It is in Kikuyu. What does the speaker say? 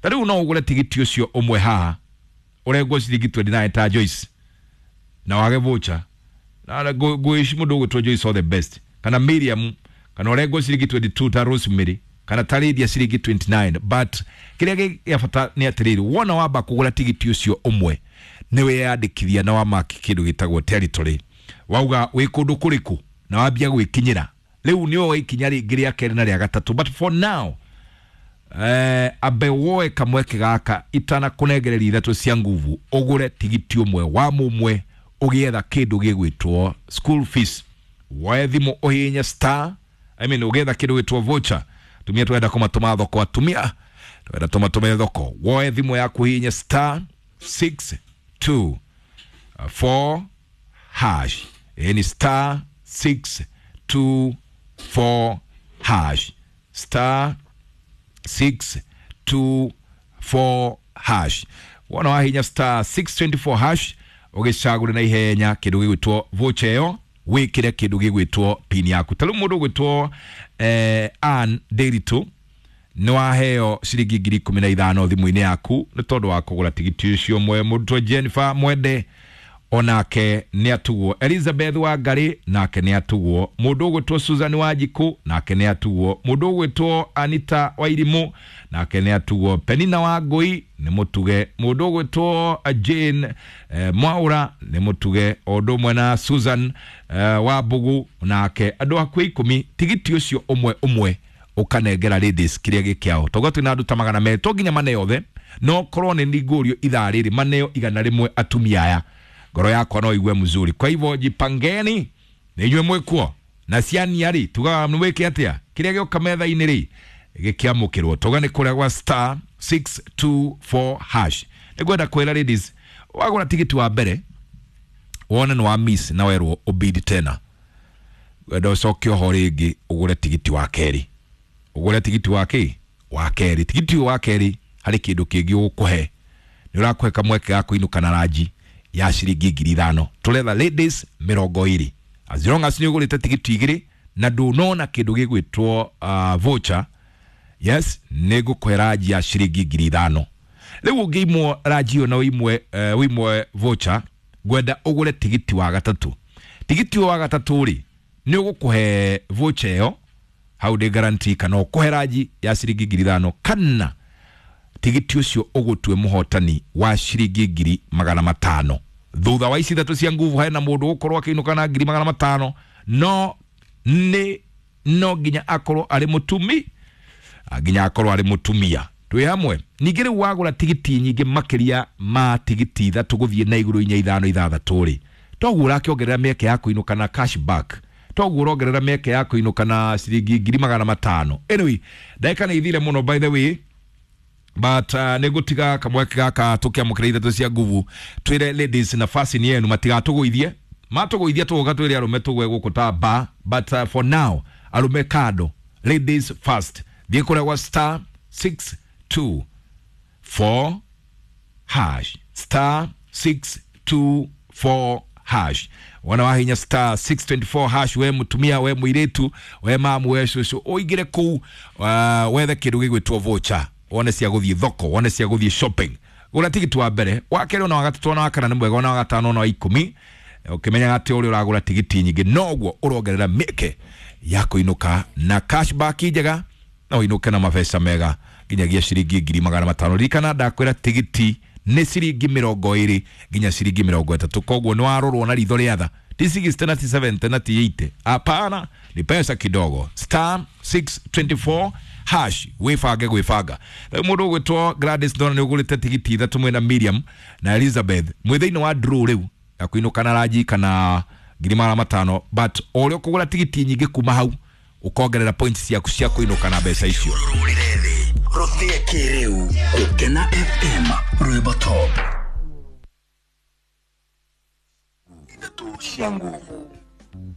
Ta rĩu no ũgũre tigiti ũcio ũmwe haha ũrengwo ciringi 29 ta Joyce na wage voucher na ngwici mũndũ ũgwĩtwo Joyce all the best, kana Miriam, kana ũrengwo ciringi 22 ta Rosemary, kana ta Lydia ciringi 29. But kĩrĩa gĩa bata nĩ atĩrĩrĩ, wona wamba kũgũra tigiti ũcio ũmwe nĩ wĩyandĩkithia na wamaki kĩndũ gĩtagwo territory, wauga wĩ kũndũ kũrĩkũ na wambia gwĩkinyĩra. Rĩu nĩ woe ikinya rĩngĩ rĩa kerĩ na rĩa gatatũ, but for now ambe woe kamweke gaka itanakũnengereria ithatũ cia nguvu, ũgũre tigiti ũmwe wa mũmwe ũgĩetha kĩndũ gĩgwĩtwo school fees. Woe thimũ ũhihinye star, I mean, ũgĩetha kĩndũ gĩtwo voucher. Tumia twenda kũmatũma thoko, atumia twenda tũmatũme thoko. Woe thimũ yaku ũhihinye star 6 2 4 hash. Ĩĩ ni star 6 2 4 hash, star 6 2 4 hash. Wona wahinya star 624 hash, ũgĩcagũre na ihenya kĩndũ gĩgwĩtwo voucher ĩyo, wĩkĩre kĩndũ gĩgwĩtwo pin yaku. Ta rĩu mũndũ ũgwĩtwo Ann Ndiritu nĩ waheo ciringi 15,000 thimũ-inĩ yaku nĩ tondũ wa kũgũra tigiti ũcio ũmwe. Mũrutwo Jennifer Mwende onake nĩ atugwo, Elizabeth Wangari nake nĩ atugwo, mũndũ ũgwĩtwo Susan Wanjiku nake nĩ atugwo, mũndũ ũgwĩtwo Anita Wairimu nake nĩ atugwo, Penina Wangui nĩ mũtuge, mũndũ ũgwĩtwo Jane Mwaura nĩ mũtuge, o ũndũ ũmwe na Susan Wambugu nake. Andũ hakuhĩ 10 tigiti ũcio ũmwe ũmwe ũkanengera ladies kĩrĩa gĩkĩao. Toguo twĩna andũ ta 200, to nginya maneo othe, no korwo nĩ ningũrio ithaa rĩrĩ maneo 100 atumia aya, ngoro yakwa no igue mzuri. Kwa hivyo jipangeni na inyuĩ mwĩkuo na ciania rĩ, tugaga nĩ wĩke atĩa kĩrĩa gĩoka metha-inĩ rĩ gĩkĩamũkĩrwo. Tuga nĩ kũrĩa gwa star 624 hash. Nĩngwenda kwĩra ladies, wagũra tigiti wa mbere wone nĩ wa miss na werwo ũbidi tena, wenda ũcoke oho rĩngĩ ũgũre tigiti wa kerĩ, ũgũre tigiti wa kĩ wa kerĩ. Tigiti ũyũ wa kerĩ harĩ kĩndũ kĩngĩ ũgũkũhe, nĩ ũrakũhe kamweke ga kũinũka na ranji ya ciringi 5,000. Tũretha ladies 20, as long as nĩ ũgũrĩte tigiti igĩrĩ na ndũnona kĩndũ gĩgwĩtwo voucher, yes, nĩ ngũkũhe ranji ya ciringi 5,000. Rĩu ũngĩimwo ranji ĩyo na ũimwe voucher, ngwenda ũgũre tigiti wa gatatũ. Tigiti ũyũ wa gatatũ rĩ nĩ ũgũkũhe voucher ĩyo hau ndĩ guarantee, kana ũkũhe ranji ya ciringi 5,000, kana tigiti ũcio ũgũtue mũhotani wa ciringi 500,000. Thutha wa ici ithatũ cia nguvu hena mũndũ ũgũkorwo akĩinũka na 500,000, no nĩ no nginya akorwo arĩ mũtumi, nginya akorwo arĩ mũtumia. Twĩ hamwe. Ningĩ rĩu wagũra tigiti nyingĩ makĩria ma tigiti ithatũ gũthiĩ na igũrũ, inya, ithano, ithathatũ rĩ, toguo ũrakĩongerera mĩeke ya kũinũka na cashback, toguo ũrongerera mĩeke ya kũinũka na ciringi 500,000. Anyway, ndagĩka nĩ ithire mũno by the way, but nĩ ngũtiga kamweke gaka tũkĩamũkĩra ithatũ cia nguvu, twĩre ladies nafasi ni yenu, matigatũgũithie. Matũgũithia tũgũka twĩre arũme tũgwe gũkũ ta ba, but for now arũme kando, ladies first. Thiĩ kũrĩa gwa star 6 2 4 hash, star 6 2 4 hash. Wona wahinya star 624 hash, we mutumia, we mũirĩtu, we mamu, we cũcũ, ũingĩre kũu wethe kĩndũ gĩgwĩtwo voucher, wone cia gũthiĩ thoko, wone cia gũthiĩ shopping. Gũra tigiti wa mbere, wa kerĩ, ona wa gatatũ, ona wa kana nĩ mwega, ona wa gatano, ona wa 10, ũkĩmenyaga atĩ ũrĩa ũragũra tigiti nyingĩ noguo ũrongerera mĩeke ya kũinũka na cashback njega, na ũinũke na mabeca mega nginyagia ciringi 500,000. Ririkana ndakwĩra tigiti nĩ ciringi 20 nginya ciringi 30, koguo nĩ warorwo na ritho rĩa tha, ti 60 na ti 70 na ti 80, hapana, ni pesa kidogo. Star 624 hash, wĩbange gwĩbanga. Rĩu mũndũ ũgwĩtwo Gladys ndona nĩ ũgũrĩte tigiti ithatũ mwĩna Miriam na Elizabeth, mwĩ thĩinĩ wa draw rĩu ya kũinũka na ranji kana 500,000, but o ũrĩa ũkũgũra tigiti nyingĩ kuma hau ũkongerera points ciaku cia kũinũka na mbeca icio. Rũrĩrĩ thĩ rũthĩe kĩrĩu Gũkena FM rwĩmbo top ithatũ cia nguvu.